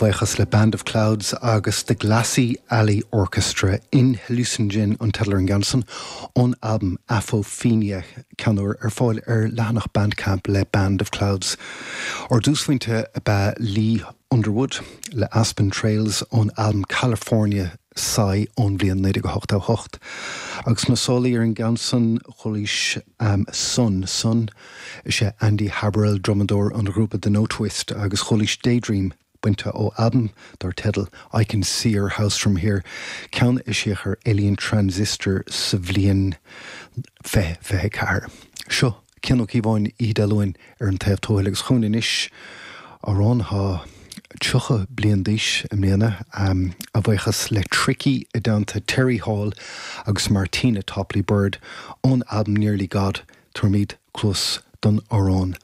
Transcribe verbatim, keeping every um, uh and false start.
bhuíochas le Band of Clouds agus the Glassy Alley Orchestra in Hallucinogen an teideal ar an gceann san ón albam Apophenia ceann úr ar fáil ar leathanach Bandcamp le Band of Clouds. Ár dtúsphointe ab ea Lee Underwood le Aspen Trails ón albam California Sigh ón bhliain naoi déag ochtó hocht. Agus na sólaí ar an gceann san chualaís um, Sun Sun is é Andy Haberl drumadóir an ghrúpa The Notwist agus chualaís Daydream bainte ó albam dar teideal I Can See Your House From Here ceann a eisíodh ar Alien Transistor sa bhliain fiche fiche ceathair. Seo Cian Ó Cíobháin Oíche Dé Luain ar an taobh tuathail agus chugainn anois amhrán atá tríocha bliain d'aois i mbliana um, a bhuíochas le Tricky i dteannta Terry Hall agus Martina Topley Bird ón albam Nearly God tugaimid cluas don amhrán